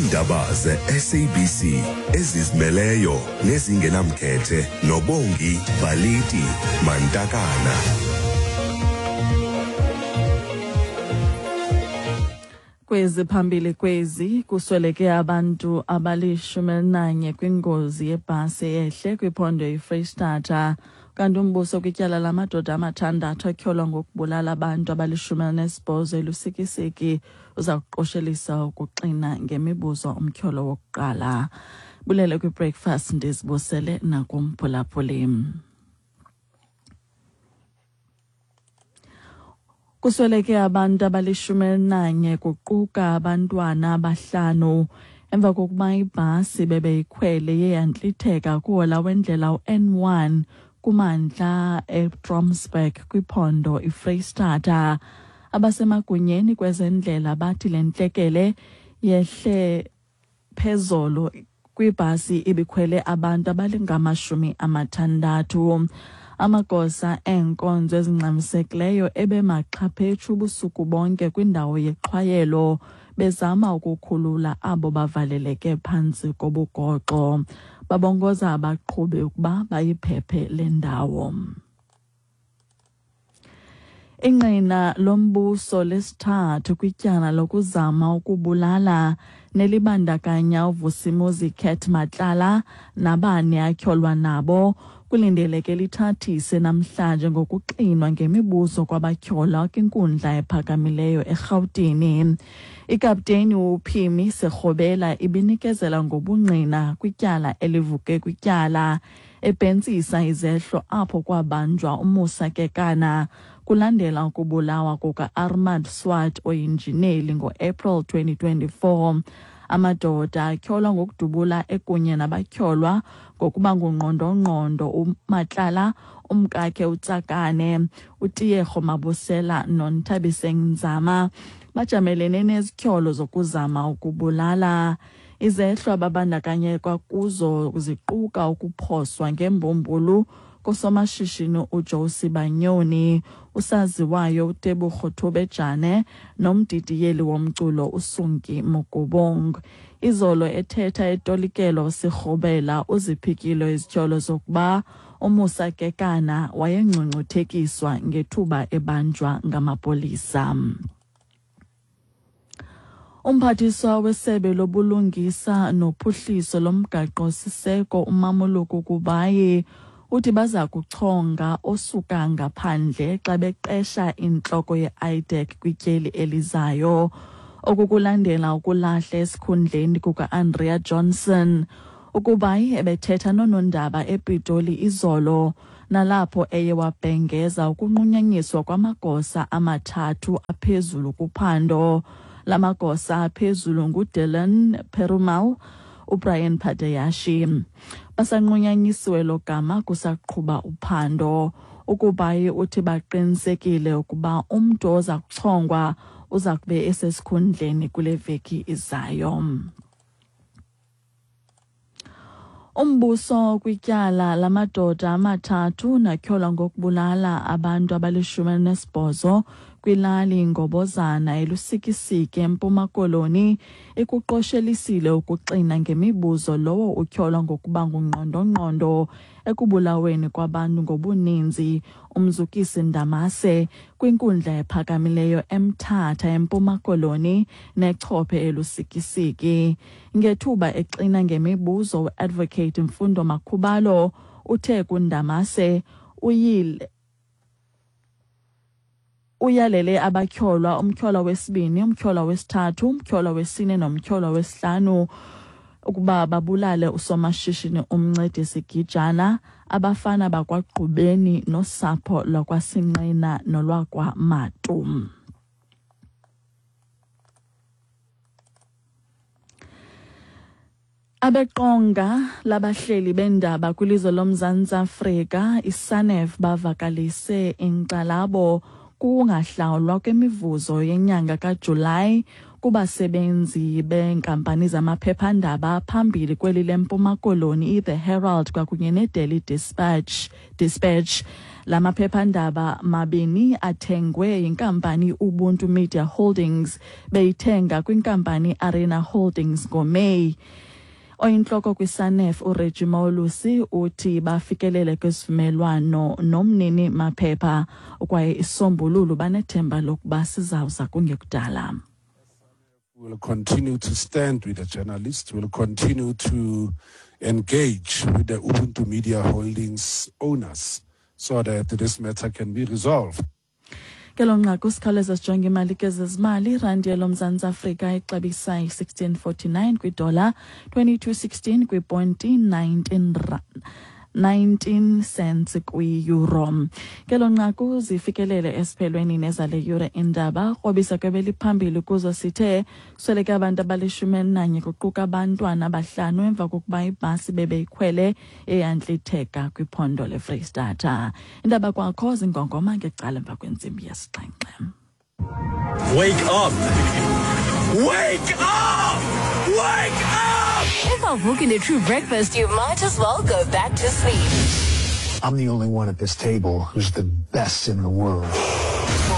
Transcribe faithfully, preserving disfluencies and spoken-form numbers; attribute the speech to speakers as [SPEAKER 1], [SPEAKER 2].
[SPEAKER 1] Iindaba ze-S A B C ezizimeleyo nezingenamkhethe noBongi Baliti Mantakana.
[SPEAKER 2] Kwezi phambili kwezi kusweleke abantu abalishumi elinanye kwingozi yebhasi eyehle kwiphondo iFreyistata. Kanti umbuso kwityala lamadoda amathandathu atyholwa ngokubulala abantu abalishumi elinesibhozo eLusikisiki uza kuqoshelisa ukuxina ngemibuzo umtyholo wokuqala. Bulele kwi-breakfast, ndizibusele nakumphulaphuli. Kusweleke abantu abalishumi elinanye kuquka abantwana abahlanu emva kokuba ibhasi bebeyikhwele iye yantlitheka kuhola wendlela u-N one kumantla eTrompsburg kwiphondo iFreyistata. Abasemagunyeni kwezendlela bathi le ntlekele yehle phezolo kwibhasi ibikhwele abantu abalingamashumi amathandathu. Amagosa eenkonzo ezingxamisekileyo ebemaxhaphetshu ubusuku bonke kwindawo yexhwayelo bezama ukukhulula abo bavaleleke phantsi kobugoxo. Babongoza abaqhubi ukuba bayiphephe le ndawo. Ingqina lombuso lesithathu kwityala lokuzama ukubulala nelibandakanya uVusimuzi Cat Matlala nabane atyholwa nabo kulindeleke lithathise namhlanje ngokuxinwa ngemibuzo kwabatyholwa kwinkundla ephakamileyo eRhawutini. Ikapteni uPhimi Sekgobela ibinikezela ngobungqina kwityala elivuke kwityala ebhentsisa izehlo apho kwabanjwa uMusa Kekana kulandela ukubulawa kuka-Armand Swart oyinjineli ngo-April twenty twenty-four. Amadoda atyholwa ngokudubula ekunye nabatyholwa ngokuba ngungqondongqondo uMatlala, umkakhe uTsakane, uTiyego Mabusela noNthabiseng Nzama bajamelene nezityholo zokuzama ukubulala. Izehlo ababandakanyeka kuzo ziquka ukuphoswa ngembumbulu kosomashishini uJosie Banyoni, usaziwayo uTebogo Thobejane nomdidiyeli womculo uSunki Mokubung. Izolo ethetha etolikelo Sekgobela uziphikile izityholo zokuba uMusa Kekana wayengcungcuthekiswa ngethuba ebanjwa ngamapolisa. Umphathiswa wesebe lobulungisa nophuhliso lomgaqo-siseko uMamoloko Kubayi uthi baza kuchonga osuka ngaphandle xa beqesha intloko ye-I D E C kwityeli elizayo. Oku kulandela ukulahla esikhundleni kuka-Andrea Johnson. Ukubayi ebethetha noonondaba ePitoli izolo, nalapho eye wabhengeza ukunqunyanyiswa kwamagosa amathathu aphezulu kuphando. La magosa aphezulu nguDylan Perumal, uBrian Padayashi. Basanqunyanyisiwe lo gama kusaqhuba uphando. Ukubayi uthi baqinisekile ukuba umntu oza kuchongwa uza kube esesikhundleni kule veki izayo. Umbuso kwityala lamadoda amathathu natyholwa ngokubulala abantu abalishumi elinesibhozo kwilali Ngobozana eLusikisiki eMpuma Koloni ikuqoshelisile ukuxina ngemibuzo lowo utyholwa ngokuba ngungqondongqondo ekubulaweni kwabantu ngobuninzi uMzukisi Ndamase kwinkundla ephakamileyo eMthatha eMpuma Koloni nechophe eLusikisiki. Ngethuba exina ngemibuzo uAdvocate Mfundo Makhubalo uthe kuNdamase uyile uyalele abatyholwa umtyholwa wesibini, umtyholwa wesithathu, umtyholwa wesine nomtyholwa wesihlanu ukuba babulale usomashishini uMncedisi Gijana, abafana bakwaGqubeni nosapho lwakwaSinqina nolwakwaMatu. Abeqonga labahleli bendaba kwilizwe loMzantsi Afrika, iSANEF, bavakalise inkxalabo kungahlawulwa kwemivuzo yenyanga kaJulayi kubasebenzi beenkampani zamaphephandaba phambili kweli leMpuma Koloni, iThe Herald kwakunye neDaily Dispatch. Dispatch. La maphephandaba mabini athengwe yinkampani Ubuntu Media Holdings, beyithenga kwinkampani Arena Holdings ngoMeyi. Oyintloko kwiSANEF uReggie Molusi uthi bafikelele kwisivumelwano nomnini maphepha kwaye isombululo banethemba lokuba sizawuza kungekudala.
[SPEAKER 3] We will continue to stand with the journalists. We will continue to engage with the Ubuntu Media Holdings owners so that this matter can be resolved.
[SPEAKER 2] Kelo nqaku sikhawuleza sijonge imali kezezimali. Irandi yaloMzantsi Afrika ixabisa i-sixteen forty-nine kwidola, twenty-two sixteen kwiponti, nineteen nineteen cents kwi-euro. Kelo nqaku zifikelele esiphelweni nezale yure indaba. Krobisa kwebeliphambili kuzo sithe kusweleke abantu abalishumi elinanye kuquka abantwana abahlanu emva kokuba ibhasi bebeyikhwele eyantlitheka kwiphondo leFreyistata. Indaba kwakho zingongoma ngecala emva kwentsimbi yesixhenxe.
[SPEAKER 4] Wake up! Wake up! Wake up!
[SPEAKER 5] If I'm the True Breakfast, you might as well go back to sleep.
[SPEAKER 6] I'm the only one at this table who's the best in the world.